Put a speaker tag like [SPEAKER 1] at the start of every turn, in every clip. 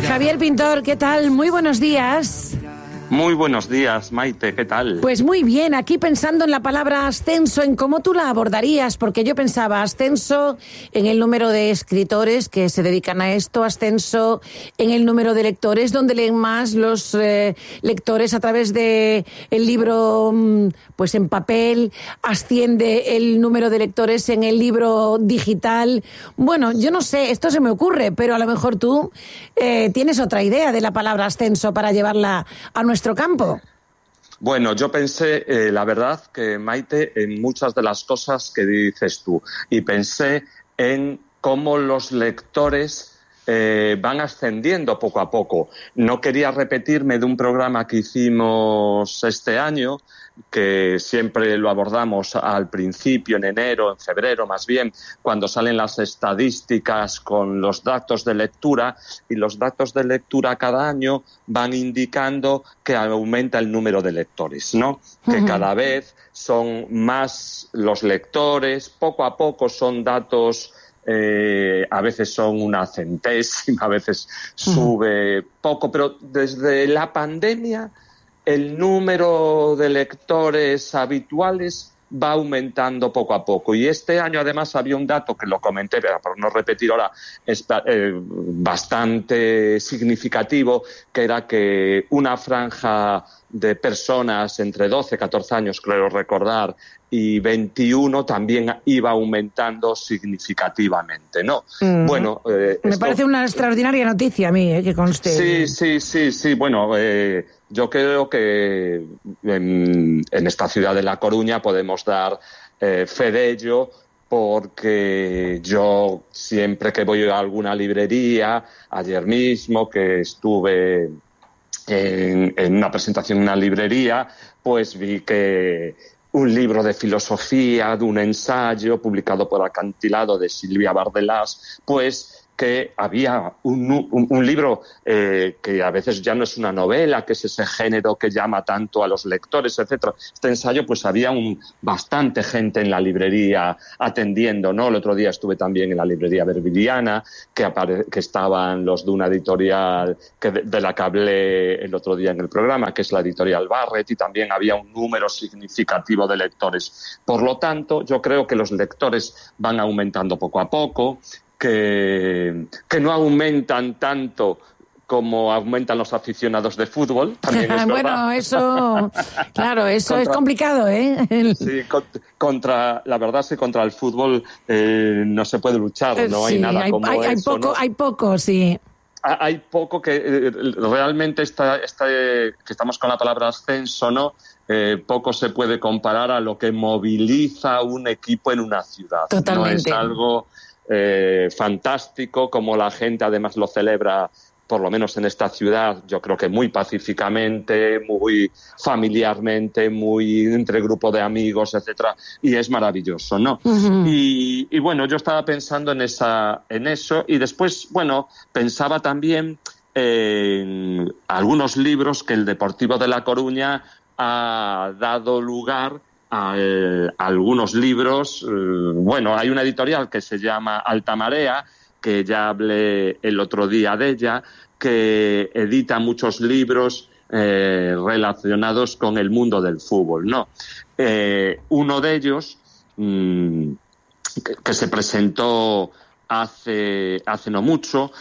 [SPEAKER 1] Javier Pintor, ¿qué tal? Muy buenos días.
[SPEAKER 2] Muy buenos días, Maite, ¿qué tal?
[SPEAKER 1] Pues muy bien, aquí pensando en la palabra ascenso, en cómo tú la abordarías, porque yo pensaba ascenso en el número de escritores que se dedican a esto, ascenso en el número de lectores, donde leen más los lectores a través de el libro pues en papel, asciende el número de lectores en el libro digital. Bueno, yo no sé, esto se me ocurre, pero a lo mejor tú tienes otra idea de la palabra ascenso para llevarla a nuestro campo.
[SPEAKER 2] Bueno, yo pensé, la verdad, que Maite, en muchas de las cosas que dices tú, y pensé en cómo los lectores van ascendiendo poco a poco. No quería repetirme de un programa que hicimos este año, que siempre lo abordamos al principio, en enero, en febrero más bien, cuando salen las estadísticas con los datos de lectura, y los datos de lectura cada año van indicando que aumenta el número de lectores, ¿no? Que cada vez son más los lectores, poco a poco son datos... a veces son una centésima, a veces sube poco, pero desde la pandemia el número de lectores habituales va aumentando poco a poco. Y este año, además, había un dato que lo comenté, pero por no repetir ahora, bastante significativo, que era que una franja de personas entre 12 y 14 años, creo recordar, y 21 también iba aumentando significativamente, ¿no? Bueno,
[SPEAKER 1] me parece una extraordinaria noticia a mí, que conste.
[SPEAKER 2] Sí. Bueno, yo creo que en esta ciudad de La Coruña podemos dar fe de ello, porque yo siempre que voy a alguna librería, ayer mismo que estuve en una presentación en una librería, pues vi que un libro de filosofía, de un ensayo publicado por Acantilado de Silvia Bardelás, pues que había un libro que a veces ya no es una novela, que es ese género que llama tanto a los lectores, etcétera. Este ensayo, pues había bastante gente en la librería atendiendo, ¿no? El otro día estuve también en la librería Verbiliana, que estaban los de una editorial de la que hablé el otro día en el programa, que es la editorial Barrett, y también había un número significativo de lectores. Por lo tanto, yo creo que los lectores van aumentando poco a poco, que no aumentan tanto como aumentan los aficionados de fútbol, también es
[SPEAKER 1] bueno,
[SPEAKER 2] verdad.
[SPEAKER 1] eso, claro, eso es complicado, ¿eh?
[SPEAKER 2] Sí, contra el fútbol no se puede luchar, no hay nada como eso, ¿no?
[SPEAKER 1] Hay poco, sí.
[SPEAKER 2] Hay poco que realmente que estamos con la palabra ascenso, ¿no? Poco se puede comparar a lo que moviliza un equipo en una ciudad.
[SPEAKER 1] Totalmente.
[SPEAKER 2] No es algo fantástico, como la gente además lo celebra, por lo menos en esta ciudad, yo creo que muy pacíficamente, muy familiarmente, muy entre grupo de amigos, etcétera, y es maravilloso, ¿no? Y bueno, yo estaba pensando en eso, y después, bueno, pensaba también en algunos libros que el Deportivo de La Coruña ha dado lugar a algunos libros. Bueno, hay una editorial que se llama Alta Marea, que ya hablé el otro día de ella, que edita muchos libros relacionados con el mundo del fútbol, ¿no? Uno de ellos, que se presentó hace no mucho,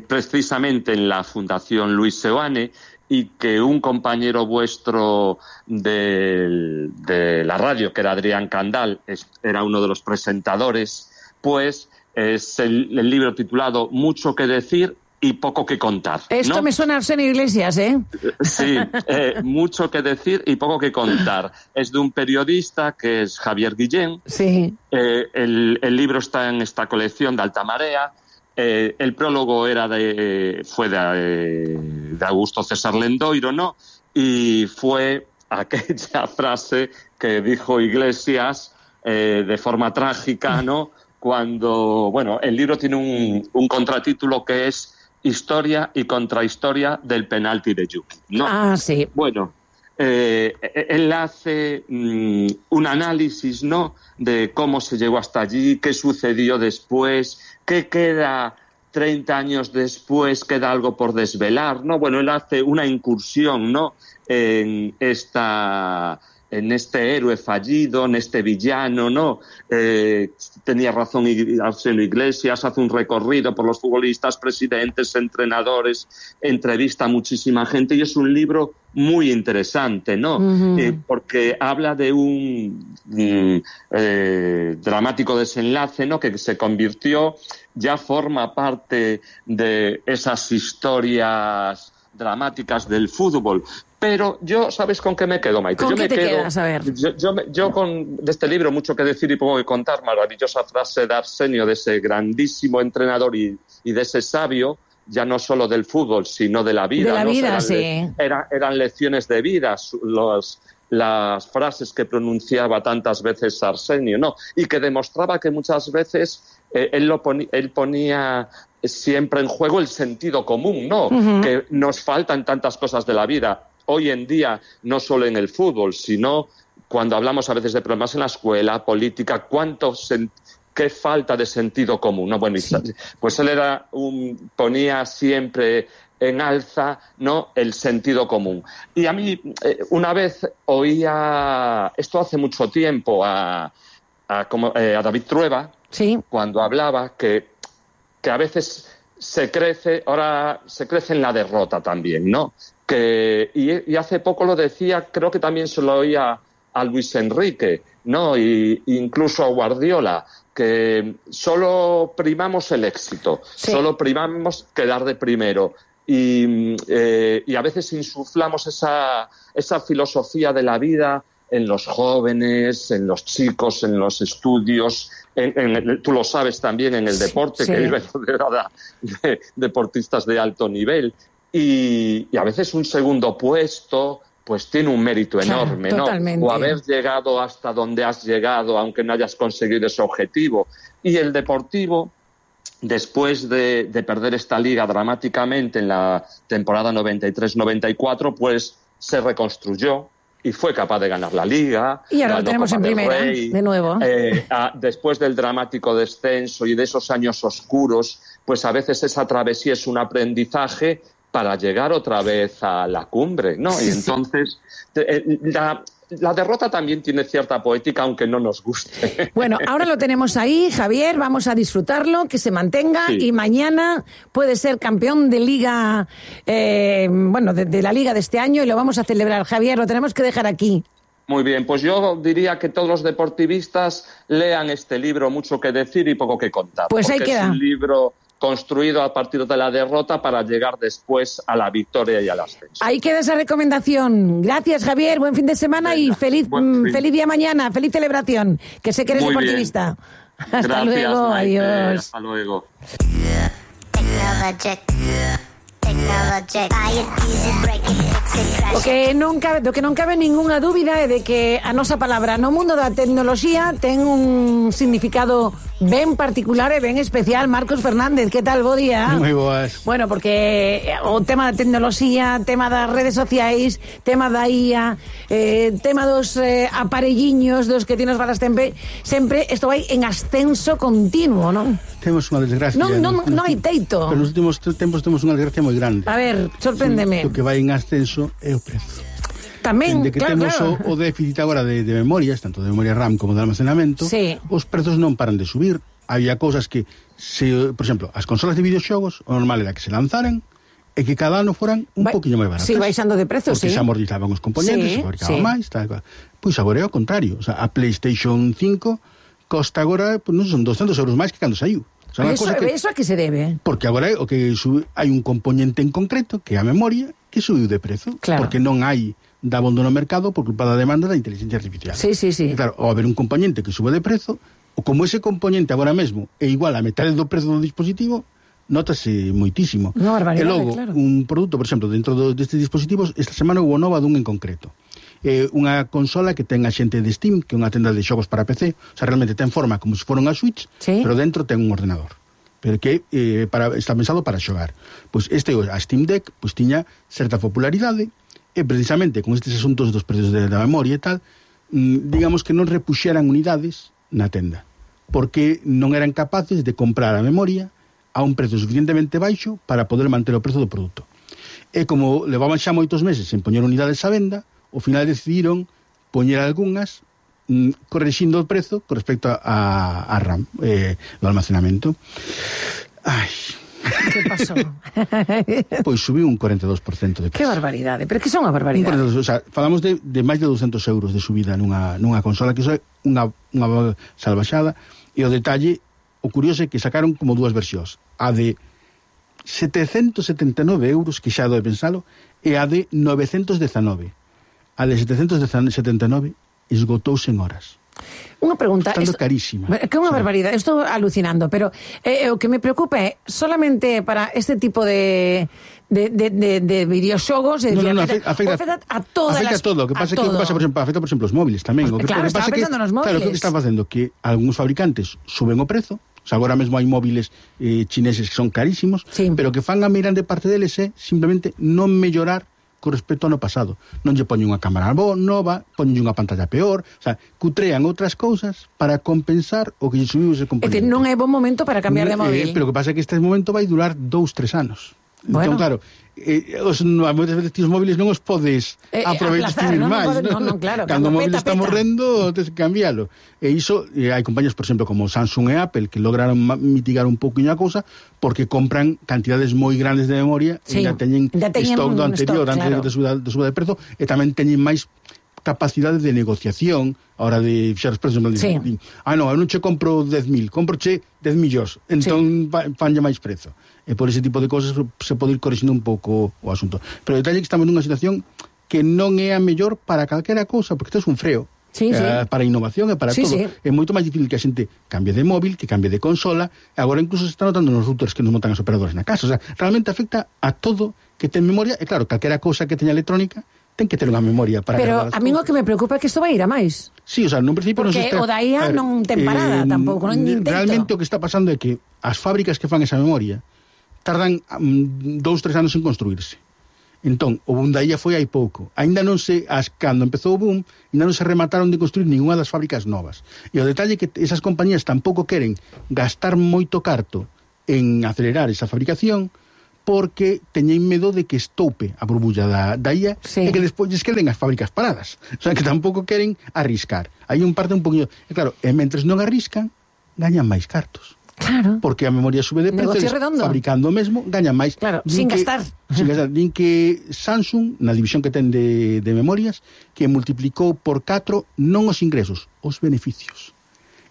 [SPEAKER 2] precisamente en la Fundación Luis Seoane, y que un compañero vuestro de la radio, que era Adrián Candal, era uno de los presentadores, pues es el libro titulado Mucho que decir y poco que contar, ¿no?
[SPEAKER 1] Esto me suena a Arsenio Iglesias, ¿eh?
[SPEAKER 2] Sí, mucho que decir y poco que contar. Es de un periodista que es Javier Guillén.
[SPEAKER 1] Sí.
[SPEAKER 2] El libro está en esta colección de Alta Marea. El prólogo fue de Augusto César Lendoiro, ¿no? Y fue aquella frase que dijo Iglesias de forma trágica, ¿no? Cuando, bueno, el libro tiene un contratítulo que es Historia y contrahistoria del penalti de Yuki, ¿no?
[SPEAKER 1] Ah, sí.
[SPEAKER 2] Bueno, él hace un análisis, ¿no?, de cómo se llegó hasta allí, qué sucedió después, qué queda 30 años después queda algo por desvelar, ¿no? Bueno, él hace una incursión, ¿no?, en este héroe fallido, en este villano, ¿no? Tenía razón Arsenio Iglesias, hace un recorrido por los futbolistas, presidentes, entrenadores, entrevista a muchísima gente, y es un libro muy interesante, ¿no? Porque habla de un dramático desenlace, ¿no?, que se convirtió, ya forma parte de esas historias dramáticas del fútbol. Pero yo, ¿sabes con qué me quedo, Maite?
[SPEAKER 1] ¿Con qué te quedas? A ver.
[SPEAKER 2] Yo de este libro mucho que decir y poco que contar. Maravillosa frase de Arsenio, de ese grandísimo entrenador y de ese sabio, ya no solo del fútbol, sino de la vida.
[SPEAKER 1] De la vida,
[SPEAKER 2] eran lecciones de vida, las frases que pronunciaba tantas veces Arsenio, ¿no? Y que demostraba que muchas veces él ponía siempre en juego el sentido común, ¿no? Que nos faltan tantas cosas de la vida. Hoy en día, no solo en el fútbol, sino cuando hablamos a veces de problemas en la escuela, política, qué falta de sentido común, ¿no? Bueno, pues él ponía siempre en alza, ¿no?, el sentido común. Y a mí, una vez oía, esto hace mucho tiempo, a David Trueba,
[SPEAKER 1] sí,
[SPEAKER 2] cuando hablaba que a veces ahora se crece en la derrota también, ¿no? Y hace poco lo decía, creo que también se lo oía a Luis Enrique, ¿no? Y incluso a Guardiola, que solo primamos el éxito, sí, solo primamos quedar de primero. Y a veces insuflamos esa filosofía de la vida en los jóvenes, en los chicos, en los estudios, tú lo sabes también, en el deporte, sí, que vive rodeada de deportistas de alto nivel. Y a veces un segundo puesto pues tiene un mérito enorme, ¿no?
[SPEAKER 1] Totalmente.
[SPEAKER 2] O haber llegado hasta donde has llegado, aunque no hayas conseguido ese objetivo. Y el Deportivo, después de perder esta liga dramáticamente en la temporada 93-94, pues se reconstruyó y fue capaz de ganar la Liga.
[SPEAKER 1] Y ahora lo tenemos en primera, de nuevo.
[SPEAKER 2] Después del dramático descenso y de esos años oscuros, pues a veces esa travesía es un aprendizaje para llegar otra vez a la cumbre, ¿no? Y entonces la derrota también tiene cierta poética, aunque no nos guste.
[SPEAKER 1] Bueno, ahora lo tenemos ahí, Javier, vamos a disfrutarlo, que se mantenga, sí, y mañana puede ser campeón de Liga, de la Liga de este año, y lo vamos a celebrar. Javier, lo tenemos que dejar aquí.
[SPEAKER 2] Muy bien, pues yo diría que todos los deportivistas lean este libro, Mucho que decir y poco que contar.
[SPEAKER 1] Pues ahí queda.
[SPEAKER 2] Es un libro construido a partir de la derrota para llegar después a la victoria y al ascenso.
[SPEAKER 1] Ahí queda esa recomendación. Gracias, Javier. Buen fin de semana. Venga, y feliz día mañana. Feliz celebración. Que sé que eres deportivista. Hasta
[SPEAKER 2] Gracias,
[SPEAKER 1] luego.
[SPEAKER 2] Maite.
[SPEAKER 1] Adiós.
[SPEAKER 2] Hasta luego.
[SPEAKER 1] O que non cabe ningunha dúbida é de que a nosa palabra no mundo da tecnoloxía ten un significado ben particular e ben especial. Marcos Fernández, que tal? Bo día.
[SPEAKER 3] Moi boas.
[SPEAKER 1] Bueno, porque o tema da tecnoloxía, tema das redes sociais, tema da IA, tema dos aparelliños dos que ti nos falas sempre isto vai en ascenso continuo, non?
[SPEAKER 3] Temos unha desgracia.
[SPEAKER 1] Non hai teito.
[SPEAKER 3] Pero nos últimos tempos temos unha desgracia moi grande.
[SPEAKER 1] A ver, sorpréndeme.
[SPEAKER 3] O que vai en ascenso é o prezo.
[SPEAKER 1] Tamén,
[SPEAKER 3] de que
[SPEAKER 1] claro,
[SPEAKER 3] temos
[SPEAKER 1] claro.
[SPEAKER 3] O déficit agora de memorias, tanto de memoria RAM como de almacenamento,
[SPEAKER 1] sí,
[SPEAKER 3] os prezos non paran de subir. Había cousas que, por exemplo, as consolas de videoxogos, o normal era que se lanzaran e que cada ano foran un poquinho máis baratas.
[SPEAKER 1] Sí, baixando de prezo,
[SPEAKER 3] porque
[SPEAKER 1] sí.
[SPEAKER 3] se amortizaban os componentes, se fabricaban máis, tal cual. Pois agora é o contrario. O sea, a PlayStation 5 costa agora, pues, non son 200 euros máis que cando saiu. O sea,
[SPEAKER 1] eso a que se debe?
[SPEAKER 3] Porque agora o que hai un componente en concreto, que é a memoria, que subiu de prezo.
[SPEAKER 1] Claro.
[SPEAKER 3] Porque non hai dabondo no mercado por culpa da demanda da inteligencia artificial.
[SPEAKER 1] Sí, sí, sí.
[SPEAKER 3] E claro, ao haber un componente que sube de prezo, ou como ese componente agora mesmo é igual a metade do prezo do dispositivo, notase moitísimo.
[SPEAKER 1] Unha barbaridade,
[SPEAKER 3] e logo,
[SPEAKER 1] claro.
[SPEAKER 3] Un produto, por exemplo, dentro destes dispositivos, esta semana hubo nova dun en concreto. Unha consola que ten a xente de Steam, que é unha tenda de xogos para PC, o sea, realmente ten forma como se fora unha Switch,
[SPEAKER 1] sí,
[SPEAKER 3] pero dentro ten un ordenador, pero que está pensado para xogar. Pois a Steam Deck pois tiña certa popularidade, e precisamente con estes asuntos dos prezos da memoria e tal, digamos que non repuxeran unidades na tenda, porque non eran capaces de comprar a memoria a un prezo suficientemente baixo para poder manter o prezo do produto. E como levaban xa moitos meses en poñer unidades á venda, ao final decidiron poñer algunhas correxindo o prezo con respecto a RAM, do almacenamento. Ai...
[SPEAKER 1] Que pasou?
[SPEAKER 3] Pois subiu un 42% de precio.
[SPEAKER 1] Que barbaridade, pero que son unha barbaridade.
[SPEAKER 3] O sea, falamos de máis de 200 euros de subida nunha consola, que iso é unha salvaxada, e o detalle, o curioso é que sacaron como dúas versións, a de 779 euros, que xa doi pensalo, e a de 919. A de 779 esgotouse en horas.
[SPEAKER 1] Unha pregunta,
[SPEAKER 3] estando carísima.
[SPEAKER 1] Que é unha barbaridade, estou alucinando, pero o que me preocupa é solamente para este tipo de videoxogos, afecta a todas
[SPEAKER 3] afecta
[SPEAKER 1] las...
[SPEAKER 3] a todo, o que pasa é que afecta, por exemplo, os móviles tamén.
[SPEAKER 1] Claro, estaba pensando nos móviles.
[SPEAKER 3] Claro, o que está facendo que algúns fabricantes suben o prezo, o sea, agora mesmo hai móviles chineses que son carísimos,
[SPEAKER 1] sí,
[SPEAKER 3] pero que fan a grande parte deles é simplemente non mellorar con respecto ao ano pasado. Non lle poñen unha cámara nova, poñen unha pantalla peor, o sea, cutrean outras cousas para compensar o que lle subiu ese componente.
[SPEAKER 1] É que non é bon momento para cambiar de móvil.
[SPEAKER 3] Pero o que pasa é que este momento vai durar 2-3 anos.
[SPEAKER 1] Bueno.
[SPEAKER 3] Entón, claro, moitas veces os móviles non os podes aproveitar máis,
[SPEAKER 1] non, claro,
[SPEAKER 3] cando o móvil está morrendo, tens que cambialo. E iso, hai compañías, por exemplo, como Samsung e Apple, que lograron mitigar un pouquinho a cousa, porque compran cantidades moi grandes de memoria,
[SPEAKER 1] sí,
[SPEAKER 3] e já teñen stock do anterior,
[SPEAKER 1] stock,
[SPEAKER 3] antes de suba de prezo, e tamén teñen máis capacidade de negociación a hora de fixar os prezos.
[SPEAKER 1] Sí.
[SPEAKER 3] Non, eu non che compro 10.000, comproche 10 millóns, entón sí, fanlle máis prezo. E por ese tipo de cosas se pode ir corrixindo un pouco o asunto. Pero o detalle é que estamos nunha situación que non é a mellor para calquera cousa, porque isto é un freo.
[SPEAKER 1] Sí, sí.
[SPEAKER 3] Para a innovación e para todo.
[SPEAKER 1] Sí.
[SPEAKER 3] É moito máis difícil que a xente cambie de móvil, que cambie de consola. Agora incluso se está notando nos routers que nos montan os operadores na casa. O sea, realmente afecta a todo que ten memoria. E claro, calquera cousa que teña electrónica ten que ter unha memoria para...
[SPEAKER 1] Pero a mí o que me preocupa é que isto vai ir a máis.
[SPEAKER 3] Sí, o sea, nun principio...
[SPEAKER 1] Porque o da IA non ten parada tampouco, non intento.
[SPEAKER 3] Realmente o que está pasando é que as fábricas que fan esa memoria tardan 2-3 anos en construirse. Entón, o boom da IA foi hai pouco. Ainda non se, cando empezou o boom, ainda non se remataron de construir ninguna das fábricas novas. E o detalle é que esas compañías tampouco queren gastar moito carto en acelerar esa fabricación, porque teñen medo de que estoupe a burbulla da IA, sí, e que despois lles queden as fábricas paradas. O sea, que tampouco queren arriscar. Hai un parte un poquinho... E claro, mentres non arriscan, gañan máis cartos.
[SPEAKER 1] Claro.
[SPEAKER 3] Porque a memoria sube de precio, fabricando o mesmo, gañan máis.
[SPEAKER 1] Claro, sin gastar.
[SPEAKER 3] Din que Samsung, na división que ten de memorias, que multiplicou por 4 non os ingresos, os beneficios.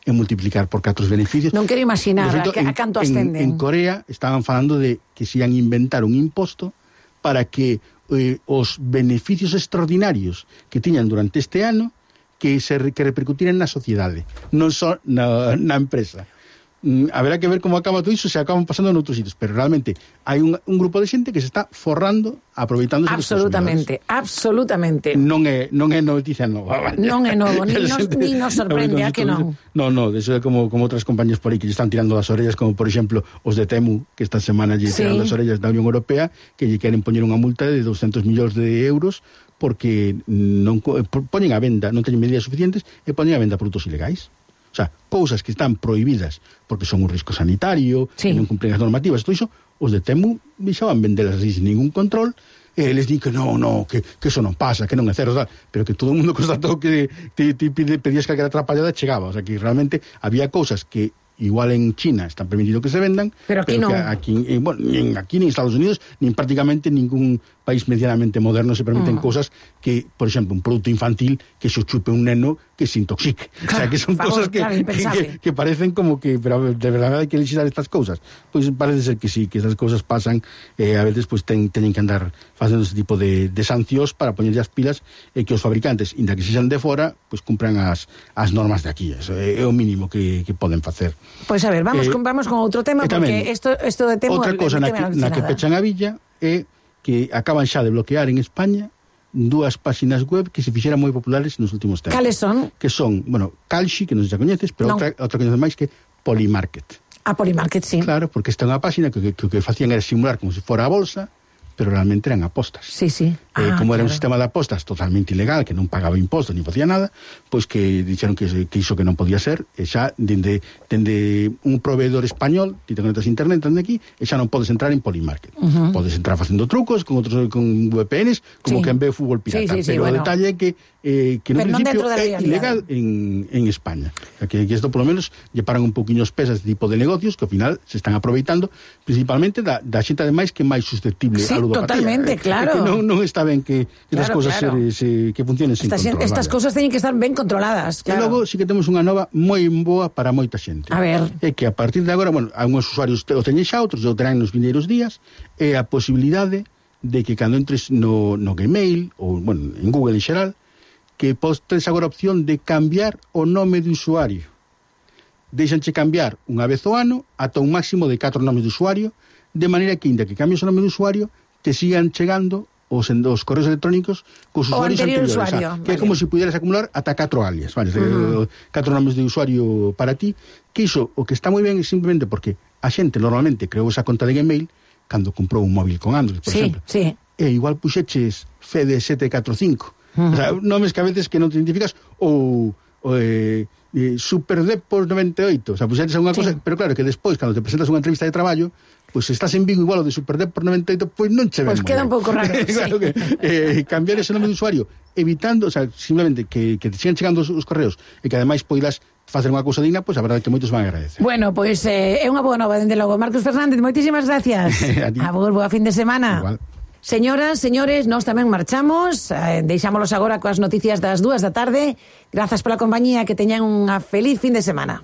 [SPEAKER 3] E multiplicar por 4 os beneficios.
[SPEAKER 1] Non quero imaginar a canto ascenden.
[SPEAKER 3] En Corea estaban falando de que se ian inventar un imposto para que os beneficios extraordinarios que tiñan durante este ano que repercutiran na sociedade, non só na empresa. Haberá que ver como acaba todo iso, se acaban pasando noutros sitios, pero realmente hai un grupo de xente que se está forrando aproveitándose
[SPEAKER 1] absolutamente.
[SPEAKER 3] Non é noticia nova.
[SPEAKER 1] Non é novo, ni nos sorprende a que non.
[SPEAKER 3] Non, eso é como outras compañías por aí que lle están tirando das orellas, como por exemplo os de Temu, que esta semana lle tiran das orellas da Unión Europea, que lle queren poñer unha multa de 200 millóns de euros porque non poñen a venda, non teñen medidas suficientes e poñen a venda produtos ilegais. O sea, cousas que están prohibidas porque son un risco sanitario, sí, non cumplen as normativas, todo iso, os de Temu deixaban vendelas sin ningún control, e les din que que eso non pasa, que non é certo, pero que todo o mundo constatou que pedías calquera atrapallada chegaba. O sea, que realmente había cousas que igual en China está permitido que se vendan,
[SPEAKER 1] pero aquí non.
[SPEAKER 3] Aquí ni en Estados Unidos, ni en prácticamente ningún país medianamente moderno se permiten cosas que, por exemplo, un produto infantil que se chupe un neno que se intoxique. Claro, o sea, que son cosas que parecen como que, pero de verdade hai que legislar estas cousas. Pois parece ser que sí, que esas cousas pasan, a veces pues teñen que andar facendo ese tipo de sancións para poñerlle as pilas, e que os fabricantes, inda que sexan de fora, pues cumpran as normas de aquí. Eso é o mínimo que poden facer.
[SPEAKER 1] Pois a ver, vamos con outro tema, porque isto de tema...
[SPEAKER 3] Outra cosa na que pechan a villa é que acaban xa de bloquear en España 2 páxinas web que se fixeran moi populares nos últimos tempos.
[SPEAKER 1] Cales son?
[SPEAKER 3] Que son, Kalshi, que non se xa coñeces, pero outra coñeces máis, que Polymarket.
[SPEAKER 1] A Polymarket, sí.
[SPEAKER 3] Claro, porque esta é unha páxina que o que facían era simular como se fora a bolsa, pero realmente eran apostas.
[SPEAKER 1] Sí.
[SPEAKER 3] Como era un
[SPEAKER 1] claro.
[SPEAKER 3] sistema de apostas totalmente ilegal, que non pagaba impostos ni facía nada, pois que dixeron que iso que non podía ser, e xa dende un proveedor español, ti te conectas a internet dende aquí, e xa non podes entrar en Polymarket. Podes entrar facendo trucos con VPNs, como que en ve fútbol pirata, pero o detalle é que no principio é ilegal en España. O sea, que isto por lo menos lle paran un poquinho os pés a este tipo de negocios que ao final se están aproveitando principalmente da xente ademais que é máis susceptible a ludopatía.
[SPEAKER 1] Totalmente, claro.
[SPEAKER 3] Que non está ben que as cousas que funcionen sin control.
[SPEAKER 1] Estas cousas teñen que estar ben controladas, claro.
[SPEAKER 3] E logo sí que temos unha nova moi boa para moita xente.
[SPEAKER 1] A ver.
[SPEAKER 3] É que a partir de agora, bueno, algúns usuarios o teñen xa, outros o terán nos vindeiros días, é a posibilidade de que cando entres no Gmail ou, bueno, en Google en xeral, que tes agora a opción de cambiar o nome de usuario. Deixanche cambiar unha vez ao ano ata un máximo de 4 nomes de usuario, de maneira que, inda que cambies o nome de usuario, te sigan chegando os correos electrónicos cos usuarios anteriores. Que é como se pudieras acumular ata 4 alias, vale? 4 nomes de usuario para ti, que iso, o que está moi ben é simplemente porque a xente normalmente creou esa conta de Gmail cando comprou un móvil con Android, por exemplo. E igual puxeches Fede745. O sea, nomes que a veces que non te identificas ou Superdepos 98, o sea, puxetes unha cosa, pero claro que despois, cando te presentas unha entrevista de traballo, pois se estás en Vigo igual o de Superdepos 98, pois non che ven.
[SPEAKER 1] Pois queda un pouco raro,
[SPEAKER 3] claro que cambiar ese nome de usuario, evitando, o sea, simplemente que te sigan chegando os correos e que ademais poidas facer unha cousa digna, pois a verdade é que moitos van a agradecer.
[SPEAKER 1] Bueno, pois é unha boa nova, dende logo. Marcos Fernández, moitísimas gracias. Abur, boa fin de semana.
[SPEAKER 3] Igual.
[SPEAKER 1] Señoras, señores, nós tamén marchamos, deixámolos agora coas noticias das 2 da tarde. Grazas pola compañía, que teñan unha feliz fin de semana.